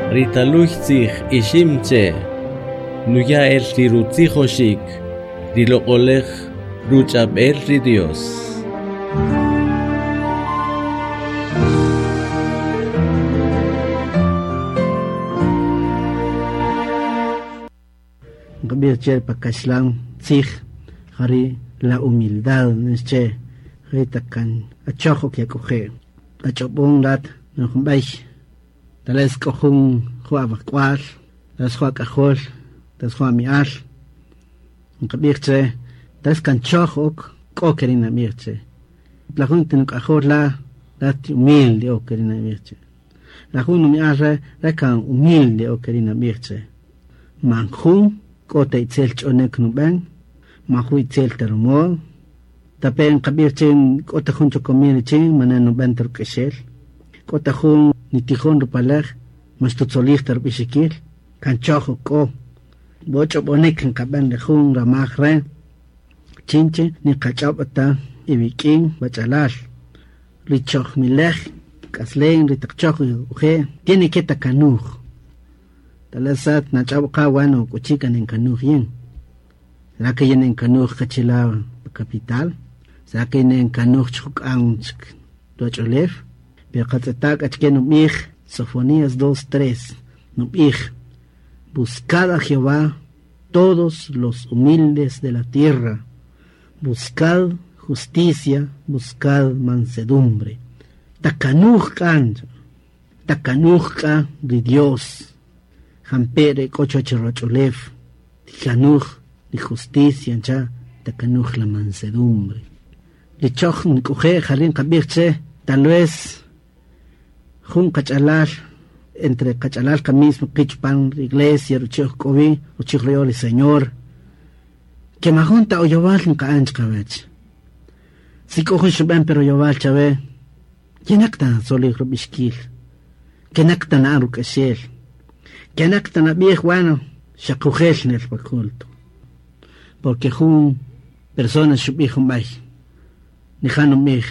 Ri taluy tzij ixim che nuya el ri rutzijoxik ri loq'olej ruch'ab'el ri Dios. Nqab'ij che pa kaxlan tzij jari la humildad che jari taq kan achoj ok yak'oje' ach'ob'on rat jun b'ey tal vez k'o jun jun awak'wal tal vez jun ak'ajol tal vez jun ami'al nqab'ij che tal vez kan choj ok k'o keri' nab'ij che la jun ti nuk'ajol la rat humilde ok keri' nab'ij che la jun numi'al re' re kan humilde ok keri' nab'ij che man jun k'o ta itzel ch'onek nub'en man jun itzel ta rumodo tape' nqab'ij che k'o ta jun chokomil richin mane nub'en ta ruk'exel k'o ta jun nitijon rupalej man xtutzolij ta rub'ixikil kan choj ok k'o bo ch'ob'onik nqab'en ri jun ramaj re' chinche niqach'ob' ta iwik'in wach'alal ri chojmilej k'aslen ri taq choj uje' tiene que takanuj tal vez at nach'ob' qa bueno k'uchi kan inkanuj yin será que yin inkanuj kachila pa capital será que yin inkanuj chjuk'an chik ruwach'ulew pero qatz'eta' k'achke nub'ij Sofonías 2:3 nub'ij buscad a Jehová todos los humildes de la tierra buscad justicia buscad mansedumbre takanuj k'an takanuj k'a ri Dios jampe' re k'o chuwach ruwach'ulew tikanuj ri justicia ncha takanuj la mansedumbre ri choj nk'uje' jari nqab'ij che tal vez jun qach'alal entre qach'alal qa mismo qi' chupan ri iglesia ruchi' oj k'o wi ruchi' ruya'on ri Señor que majun ta oyowal nqa'an chiqawach si k'o jun xub'an pe royowal chawe kenaq ta tzolij rub'ixkil kenaq ta na'an ruk'exel kenaq ta nab'ij bueno xaqujel nel pa culto porque jun persona xub'ij jun b'ay nija' nub'ij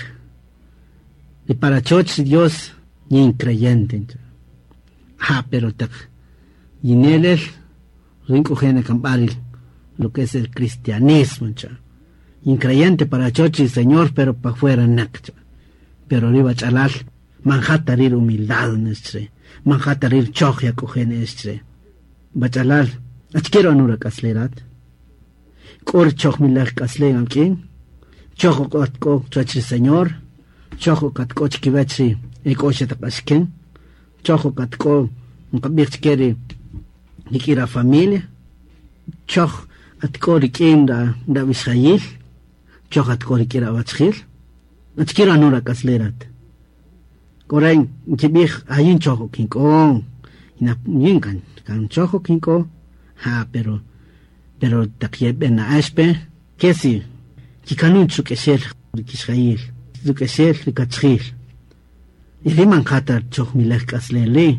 ri para choch ri Dios yin creyente ncha ah pero taq yinelel rin k'uje nakamb'al lo que es el cristianismo ncha increyente para choch ri Señor pero pa fuera naq cha pero ri wach'alal man jata rir humildad nechre man jata rir choj yak'uje nechre wach'alal achkero anura k'aslerat k'o richojmilaj k'aslen awk'in choj k'o chuwach ri Señor choj katk'o chikiwach ri ek'o xataq axken choj katk'o nqab'ij chike ri rik'in ra familia choj atk'o rik'in ra wixjayil choj atk'o rik'in ra awachjil achkero anura k'aslerat k'oren nkib'ij ayin choj kink'o yin kan kan choj kink'o ja pero taq yeb'en na'axpe kesi kikanun ruk'exel ri kixjayil ruk'exel ri kachjil y ri man jata chojmilej k'aslen li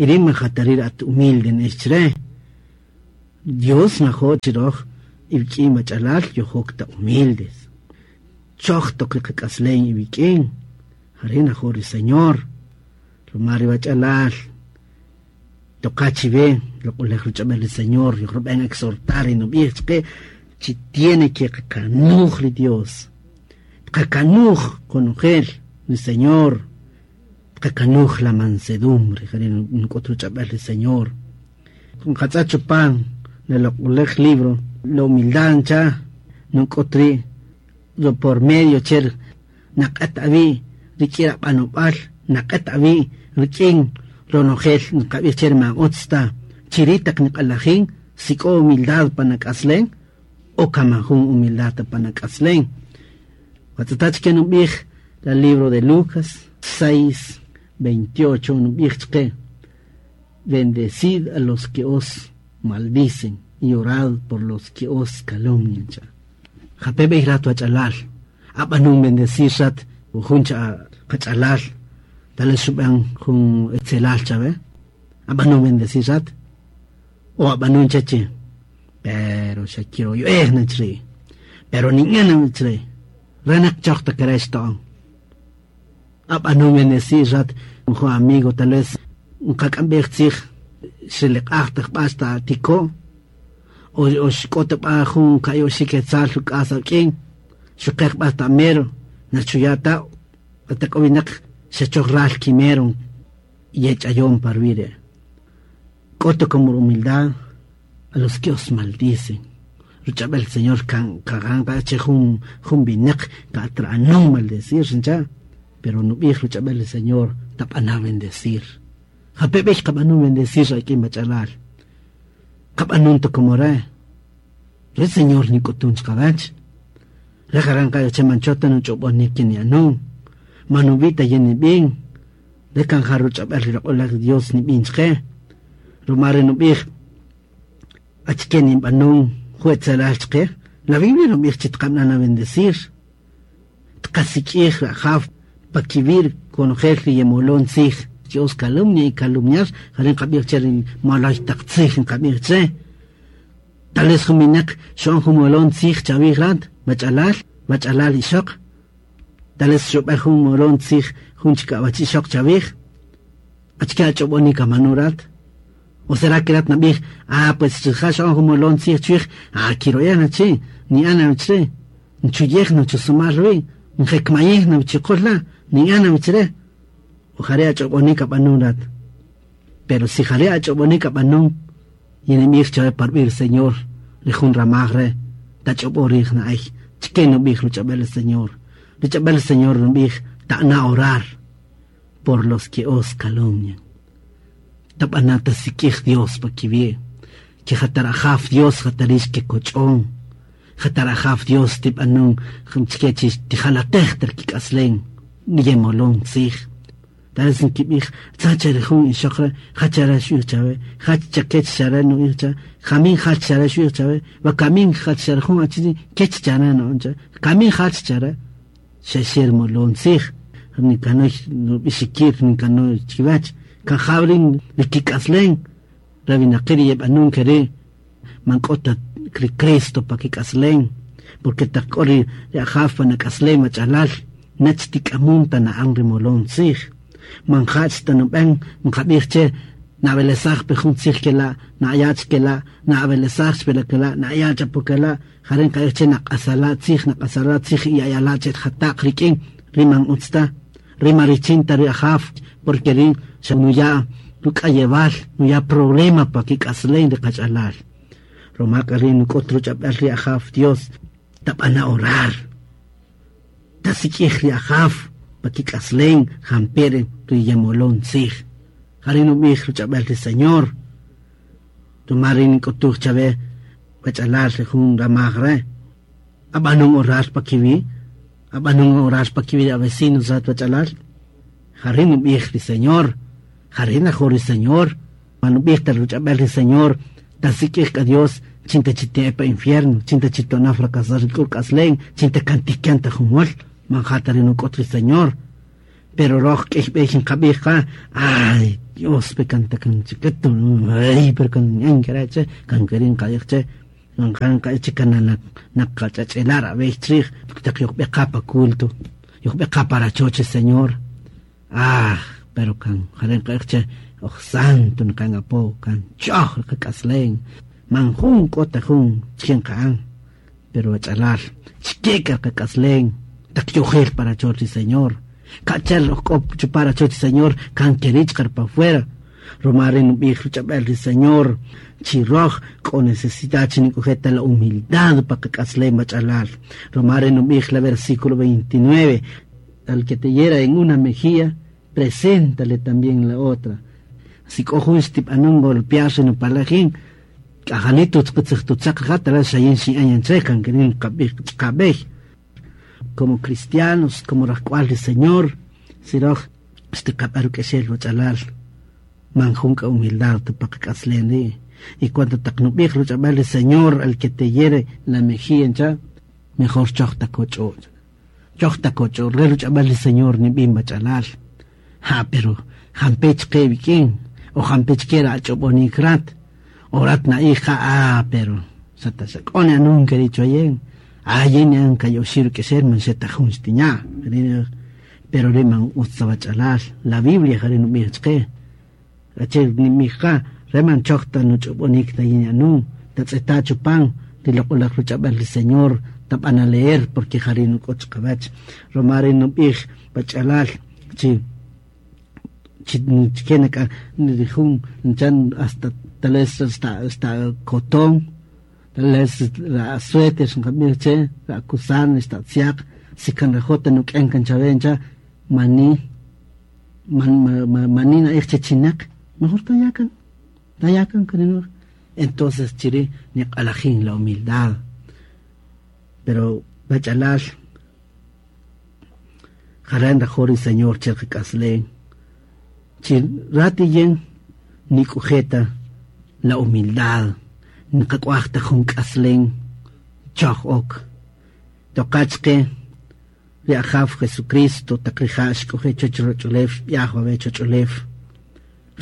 y ri man jata rir at humilde nechre Dios najo' chiroj iwk'in wach'alal yojok ta humildes choj toq ri qak'aslen iwik'in jari najo' ri Señor ruma ri wach'alal toqa chiwe loq'olej ruch'ab'el ri Señor yojrub'en exhortar y nub'ij chqe chi tiene que qakanuj ri Dios qakanuj qonojel ri Señor qakanuj la mansedumbre jari nk'ut ruch'ab'el ri Señor nqatz'a chupan le loq'olej libro la humildad ncha nuk'ut ri' lo por medio cher naq'at awi' rik'in rab'anob'al naq'at awi' rik'in ronojel nqab'ij cher man utz ta chiri' taq niq'alajin si k'o humildad panak'aslen o kaman jun humildad ta panak'aslen qatz'eta chike nub'ij la libro de Lucas 6:28 nub'ij chqe bendecid a los que os maldicen y orad por los que os calumnian cha jape b'ey rat wach'alal ab'anun bendecir rat jun cha qach'alal tal vez xub'an jun etzelal chawe ab'anun bendecir rat o ab'anun chachi pero xa quiero yo nachri pero niñana nachri renak choj ta querés to'on ab'anun bendecir rat jun amigo tal vez Nqak'amb'ej tzij xreleq'aj taq b'a xta tiko o xk'o ta b'a jun ka'i oxi' quetzal ruk'as ak'in xuqej b'a ta mero nachuya' ta taq k'o winaq xechoj ral kimero yech'ayon pa ruwi' re'. K'o como humildad a los que os maldicen. Ruch'ab'el el Señor kan kagan che jun winaq ka'atra'anun maldecir xincha, pero nub'ij ruch'ab'el el Señor tab'ana bendecir. Jape b'ey qab'anun bendecir ak'in bach'alal. Qab'anun ta como re. Re Señor nik'utun chqawach. Re jaran qa che manchota nuch'ob'onik kini'anun. Manub'ita yin nib'in. Re kan ja ruch'ab'el ri roq'olaj Dios nib'in chqe. Rumare nub'ij achke ninb'anun juetzelal chqe. La Biblia nub'ij chi tqab'ana bendecir. Tqasik'ij rajaf pakiwir konojel ri yemolon tzij. Dios calumnia y calumniar, jaren qab'ij che ri moloj taq tzij nqab'ij che. Tal vez jun winaq xo'on jun molon tzij chawij rat, mach'alal, mach'alal ixoq. Tal vez xub'ej jun molon tzij jun chik awach ixoq chawij. Achke ach'ob'onik amanu rat. O será que rat nab'ij, ah, pues rija' xo'on jun molon tzij chwij, ah, kiro'yana chi, ni'ana wichre, nchuyej na chusumal wi, njekmayej na wichiqul la, ni'ana wichre. O jare ach'ob'onik ab'anun rat. Pero si jare ach'ob'onik ab'anun, yinimij chawe parb'ir Señor, ri jun ramaj re, tach'ob'o rij na'ay, chke nub'ij ruch'ab'el el Señor. Ruch'ab'el el Señor nub'ij, ta'na orar por los que os calumnian. Tab'ana tasik'ij Dios pa kiwi', que jatarajaf Dios jatarix ke koch'on, jatarajaf Dios tib'anun chke chi tijalatej terkik'aslen, yemolon tzij. Tal vez nkib'ij, tzacha ri jun ixoq re, jachara xu'ij chawe, jach chakech chara nu'ij cha, jamin jach chara xu'ij chawe, wa kamin jach chara jun achi kech chara no'on cha, kamin jach chara, xaxer molon tzij, nikanoy nub'ixikir nikanoy chiwach, kan jawrin ri kik'aslen, rabinaqiri yeb'anun kere, man k'o ta ri Cristo pa kik'aslen, porque taq k'o ri ajaf pa nak'aslen mach'alal, nach tik'amun ta na'an ri molon tzij. Man jach ta nub'en nqab'ij che nab'elesaj pe jun tzij kela, na'yach kela, na'ab'elesaj pe kela, na'yach apo kela, jaren qa'ij che naq'asala tzij, naq'asala tzij ya'yala che jataq rik'in, riman utzta, rima richin ta ri ajaf, porque rin xa nuya ruk'ayewal, nuya problema pa kik'aslen ri qach'alal. Ruma k'a rin nuk'ut ruch'ab'el ri ajaf Dios, tab'ana orar. Tasik'ij ri ajaf pa kik'aslen jampere ri yemolon tzij. Jare nub'ij ruch'ab'el ri Señor. Ruma rin nk'utuj chawe wach'alal ri jun ramaj re. Ab'anun orar pa kiwi', ab'anun orar pa kiwi' a vecinos rat wach'alal. Jare nub'ij ri Señor, jare najo ri Señor. Manub'ij ta ruch'ab'el ri Señor, tasik'ij k'a Dios, chinta chite'e pa infierno, chinta chitona fracasar ri k'aslen, chinta kantikan ta jumol, man jata ri nuk'ut ri Señor. Pero roj k'ey b'ey nqab'ij qa, ay, Dios pe kanta kan chiquito, ay, pero kan ñan che, kan kerin nqa'ij che, nqan qa'ij che kan naqach'ach'elar ab'ey chrij, taq yojb'eqa pa culto, yojb'eqa para choch Señor. Ah, pero kan jare nqa'ij che, oj santo nqan apo, kan ch'oj qak'aslen, man jun k'o ta jun chke nqa'an, pero wach'alal, chke k'a qak'aslen, taq yojel para choch ri Señor. Kachel oj k'o para choch ri Señor, kan kerich qar pa fuera. Ruma ri nub'ij ruch'ab'el ri Señor, chi roj k'o necesidad chi nik'ujeta la humildad pa qak'aslen wach'alal. Ruma ri nub'ij la versículo 29, al que te hiera en una mejilla, preséntale también la otra. Si k'o jun xtib'anun golpearse no palajin, k'ajanito tzqetzej jatala xayin xi'an che kan kerin qab'ij qab'ej. Como cristianos, como rajk'wal ri Señor, si roj xtiqab'an ruk'exel wach'alal, man jun k'a humildad ta pa qak'aslen ri'. Y cuando taq nub'ij ruch'ab'al ri Señor al que te hiere la mejilla cha, mejor choj ta koch'o. Choj ta koch'o, re ruch'ab'al ri Señor nib'in wach'alal. Ja, pero jampech ke wik'in, o jampech ke rach'ob'onik rat, o rat na'ij ja, ah, pero sata xak'one anun keri choyen. Ah, yin yan kayoxi ruk'exel man xeta jun xtiña. Pero ri man utz ta wach'alal, la Biblia jare nub'ij chqe. Ache nimija reman choqta nuch'ub'unik tayiñanun tatz'eta chupan riloq'olaj ruch'ab'al ri Señor tab'an a leer porque jari nuk'och qawach romari nub'ij pach'alal chi chkenaka jun nchan hasta tal vez hasta cotón tal vez la suéter nqab'ij che la kusan esta tziaq si kan rajota nuk'en kan chavencha mani mani na che chinak mejor tayakan tayakan kaninur. Entonces chiri niq'alajin la humildad pero bachalal jaran rajori Señor cherqik'aslen chi ratiyen nik'ujeta la humildad niqak'uajta jun k'aslen choj ok toqachqe ri ajaw Jesucristo taq rija' xk'oje choch roch'ulew xb'iaj wawe' choch'ulew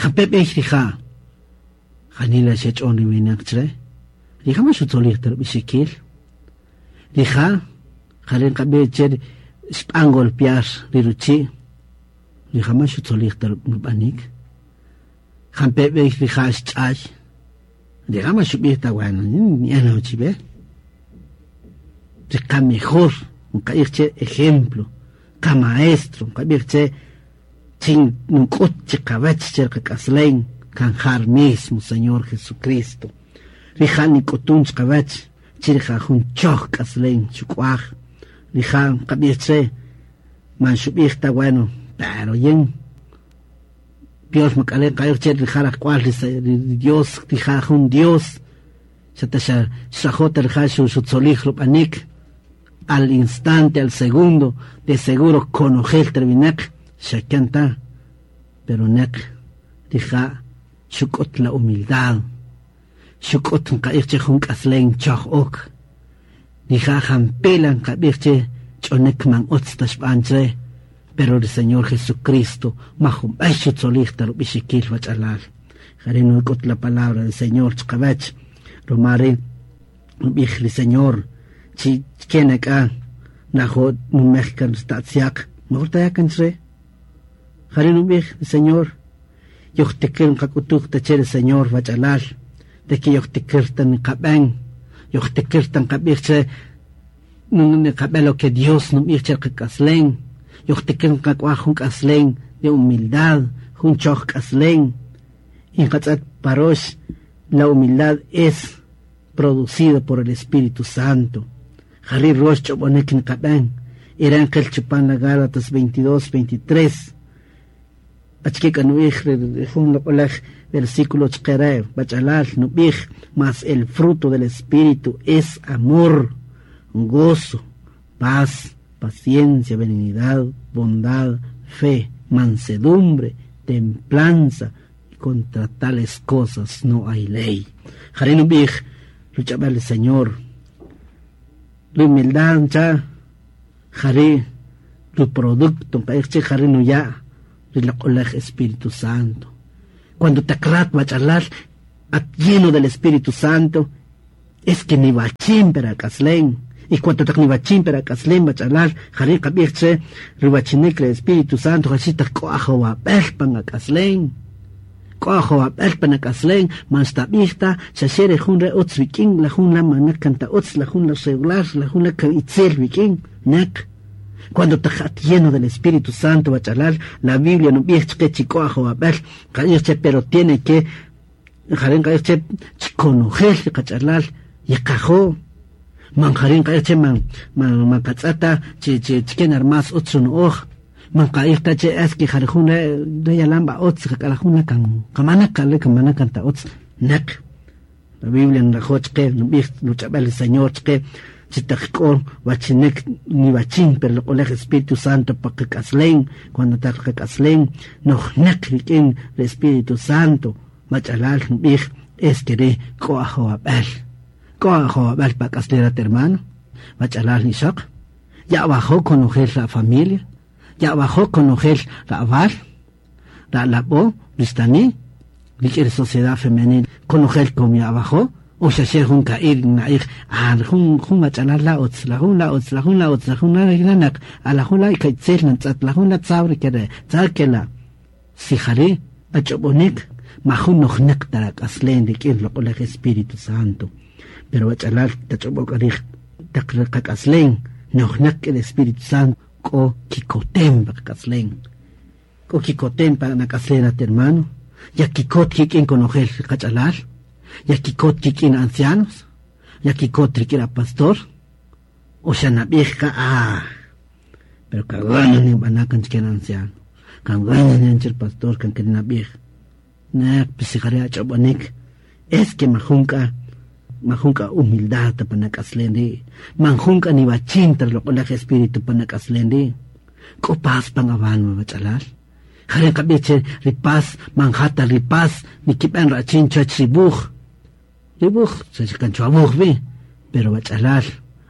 jampe' b'ey rija' janila xech'on ri winaq chre rija' man xutzolij ta rub'ixikil rija' jare nqab'ij che xb'an golpear ri ruchi' rija' man xutzolij ta rub'anik jampe' b'ey rija' xch'ay rija' man xub'ij ta bueno ni'an chib'e riqa mejor nqa'ij che ejemplo qa maestro nqab'ij che chin nuk'ut chiqawach che riqak'aslen kan jar mismo Señor Jesucristo. Rija' nik'utun chiqawach chi rija' jun choj k'aslen xuk'uaj rija' nqab'ij che man xub'ij ta bueno pero yin pior mak'alen qa'ij che rija' rajk'ual ri Dios rija' jun Dios. Xata xa xrajota rija' xutzolij rub'anik al instante, al segundo, de seguro konojel terminak xakanta pero nek rija' xuk'ut la humildad xuk'ut nqa'ij che jun k'aslen choj ok rija' jampela nqab'ij che ch'onek man utz ta xb'an che pero el Señor Jesucristo majun b'ey xutzolij ta rub'ixikil wach'alal jare nuk'ut la palabra del Señor chqawach romari nub'ij ri Señor chi kenak'a najo numej kan statziaq mejor tayakan chre jare nub'ij el Señor yojtikir nqak'utuj ta che ri Señor wach'alal de que yojtikir ta nqab'an yojtikir ta nqab'ij che nqab'en lo que Dios nub'ij che qak'aslen yojtikir nqak'uaj jun k'aslen de humildad jun choj k'aslen y nqatz'at parox la humildad es producido por el Espíritu Santo. Jari rox ch'ob'onek nqab'an iran qel chupan la Gálatas 22 23 achke k'anu'ij jun loq'olaj versículo chqere bach'alal nub'ij mas el fruto del Espíritu es amor, gozo, paz, paciencia, benignidad, bondad, fe, mansedumbre, templanza, y contra tales cosas no hay ley. Jari nub'ij ruch'ab'al el Señor. La humildad cha jari tu producto nqa'ij che jari nuya' riloq'olaj Espíritu Santo. Cuando te akrat bach'alal at lleno del Espíritu Santo es que ni bachin pero k'aslen y cuando taq ni bachin pero k'aslen bach'alal jari qab'ij che riwachinik ri Espíritu Santo jachi taq k'o ajowab'el pan ak'aslen k'o ajowab'el pan ak'aslen man xtab'ij ta xaxe ri jun re utz wik'in la jun la manak kanta utz la jun la regular la jun la kan itzel wik'in nek cuando te lleno del Espíritu Santo bachalal la Biblia no b'ij chqe chi k'o ajowab'el qa'ij che pero tiene que jaren qa'ij che chikonojel ri qach'alal yiqajo man jarin qa'ij che man man man qatz'ata chi chi chken armas utz runo'oj man qa'ij ta che es que jare jun re yalan ba utz qak'ala jun la kan qamanak qale kamanak kanta utz nek la Biblia nrajo chqe nub'ij nuch'ab'al el Señor chqe chitaq k'o wachinek ni bachin pero loq'olej Espíritu Santo pa qak'aslen cuando taq qak'aslen nojnek rik'in el Espíritu Santo mach'alal nub'ij es que re k'o ajowab'al k'o ajowab'al pa k'aslerat hermano mach'alal nixoq ya bajó konojel la familia ya bajó konojel la aval la labo ristani rik'in sociedad femenil konojel kom ya bajó o xaxe jun ka'ir na'ij ah jun jun mach'alal la utz la jun la utz la jun la utz la jun la naq a la jun la ka'itzel nantz'at la jun la tzawri kere tzakela si jari ach'ob'onik Majun nojneq ta rak'aslen rik'in loq'olaj Espíritu Santo. Pero wach'alal tach'ob'ok arij taq qak'aslen nojneq k'in Espíritu Santo k'o kikotem pa qak'aslen. K'o kikotem pa nak'aslen at hermano. Ya kikot kik'in konojel qach'alal. Ya kikot kik'in ancianos. Ya kikot rik'in a pastor. O xa nab'ij ka ah. Pero kagana ni b'anakan chike anciano. Kagana ni anchel pastor kan ke nab'ij. Nek pisijare ach'ob'anik. Es que majunka majunka humildad pa nak'aslen ri. Manjunka ni bachinta loq'olaj espíritu pa nak'aslen ri. K'o paz pan awan wach'alal. Jare qab'ij che ri paz manjata ri paz nikib'an rachin chach ribuj. Ribuj se kan abuj bi. Pero wach'alal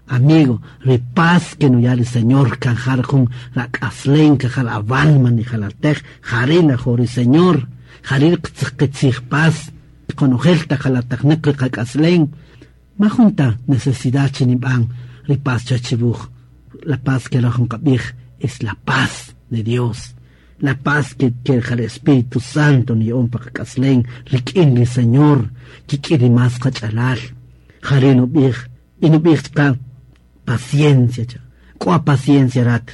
amigo, ri paz que no ya el Señor kan jar jun rak'aslen kan jar avalma ni jalatej jarina jori Señor jarir qtzij paz konojel ta jalatajneq ri qak'aslen ma junta necesidad chinib'an ri paz chachibuj. La paz que rojun qab'ij es la paz de Dios, la paz que el Espíritu Santo ni on pa qak'aslen rik'in ri Señor kik'in ri mas qach'alal jarin ub'ij y chqa paciencia cha. K'o paciencia rat.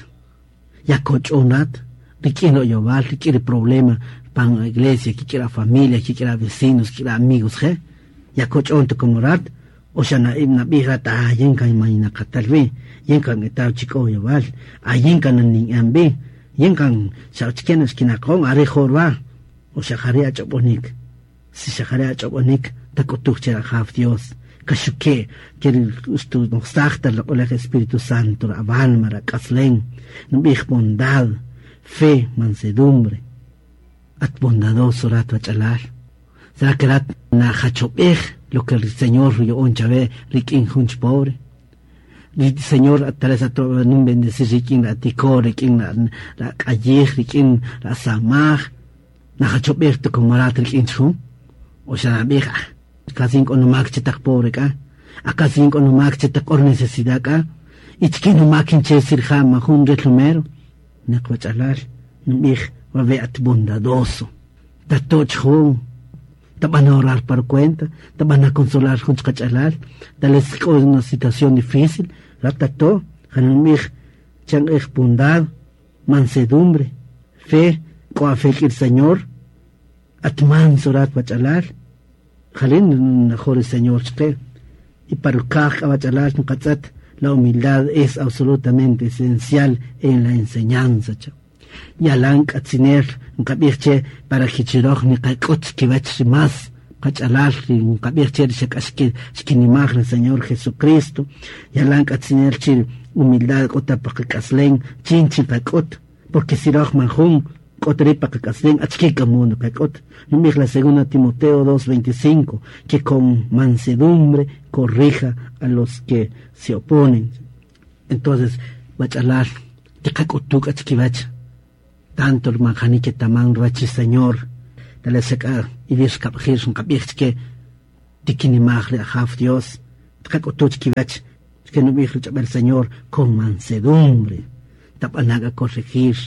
Ya koch'onat rik'in royowal rik'in ri problema pan iglesia kik'in ra familia kik'in ra vecinos kik'in ra amigos je. Ya koch'on como rat o xa nab'ij rat ah yin kan maynaqatal wi yin kan etaw chik'o yowal ah yin kan nin'an bi yin kan xa chken xkinaqon are jorwa o xa jare ach'ob'onik si xa jare ach'ob'onik tak'utuj che rajaw Dios. Kashuke que ustu noxajta loq'olaj Espíritu Santo avalma rak'aslen nb'ij bondad fe mansedumbre. At bondadoso rat wach'alal será que rat najachob'ej lo que el Señor yo'on chawe rik'in junch pobre? El Señor tal vez ato nun bendecir rik'in la tiko rik'in la k'ayij rik'in la samaj. Najachob'ej to como rat rik'in chjun o xa nab'ij ah casi k'o numak che taq pobre k'a casi k'o numak che taq or necesidad k'a ichki numak inche sirja majun relumero neq wach'alal nb'ij wawe at bondadoso. Tatoch jun te van a orar por cuenta, te van a consolar junch qach'alal, tal vez k'o una situación difícil, ratato, janumij chan ej bondad, mansedumbre, fe, k'o fe el Señor, at manso rat wach'alal, jalin mejor el Señor chqe, y para kaj wach'alal nqatz'at, la humildad es absolutamente esencial en la enseñanza cha. Yalan k'atzinel nqab'ij che para kichiroj niqak'ut kiwach ri mas qach'alal ri nqab'ij che ri xak'ax xkinimaj ri Señor Jesucristo. Yalan k'atzinel chi humildad k'ota pa qak'aslen chin chin qak'ut porque si roj manjun k'ot ri pa qak'aslen achki kamundo qak'ut nub'ij la segunda Timoteo 2:25 que con mansedumbre corrija a los que se oponen. Entonces wach'alal tiqak'utuk achkiwach tanto el manjani que taman ruach Señor tal vez acá y bis kab'jir nqab'ij chke tikinimaj ri ajaw Dios tiqak'utuch kiwach que nub'ij rich'ab'el Señor con mansedumbre tab'anak a corregir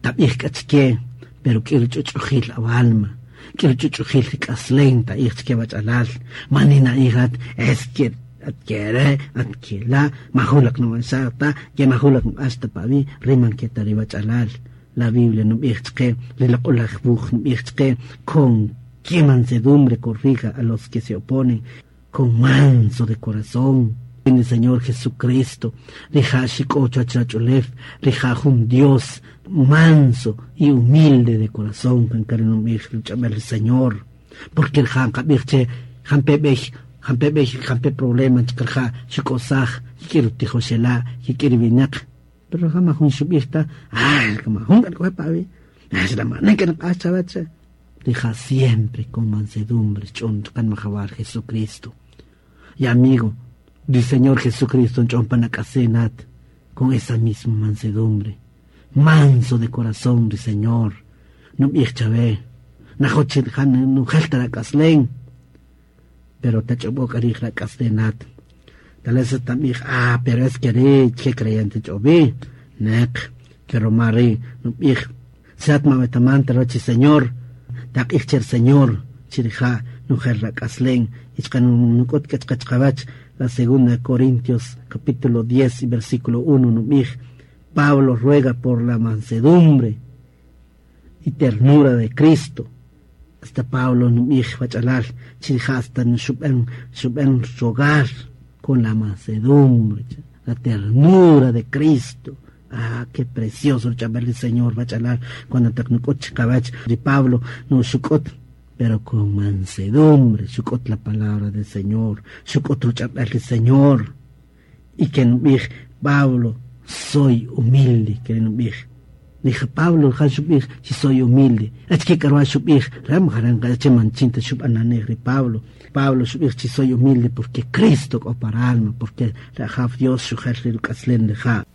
tab'ij k'achke pero k'ir ch'uch'ujil awalma k'ir ch'uch'ujil rik'aslen ta'ij chke wach'alal manina ijat es que adquiere adquila majulak no ta que majulak hasta pavi riman que tariba chalal la Biblia no chke chke con qué mansedumbre corrija a los que se oponen con manso de corazón. En el Señor Jesucristo rija xik'och rija jun Dios manso y humilde de corazón kan el Señor. Porque el jan qab'ij che jampe b'ej jampe b'ej jampe problema chqarja xik'osaj yik'ir tijoxela yik'ir winaq pero jama jun xub'ijta ah kama jun k'alk'oj pavi rija siempre con mansedumbre ch'on ch'an majawar Jesucristo. Y amigo del Señor Jesucristo ch'on panak'asenat con esa misma mansedumbre. Manso de corazón del Señor. No b'ij chawe najoch jan nujelta rak'aslen pero tach'ob'ok arij rak'aslenat tal vez también ah pero es que ri che creyente ch'ob'i nek que romari no b'ij sat mawetamanta rochi Señor. Taq'ij che Señor chirija nujel rak'aslen ichqa nuk'ut k'achqachqawach la segunda Corintios capítulo 10 y versículo 1 nub'ij Pablo ruega por la mansedumbre y ternura de Cristo. Hasta Pablo nub'ij wach'alal chirija hasta xub'an xub'an rogar con la mansedumbre, la ternura de Cristo. Ah, qué precioso el ch'ab'al del Señor wach'alal cuando taq nuk'ut chiqawach ri Pablo no xuk'ut pero con mansedumbre xuk'ut la palabra del Señor, xuk'ut ruch'ab'al del Señor. Y que nub'ij Pablo, soy humilde, que nub'ij. Dije Pablo ja xub'ij si soy humilde. Achke karwa xub'ij ram jaran che manchinta xub'ananej ri Pablo. Pablo xub'ij si soy humilde porque Cristo k'o para alma, porque rajaf Dios xujel ri ruk'aslen rija'.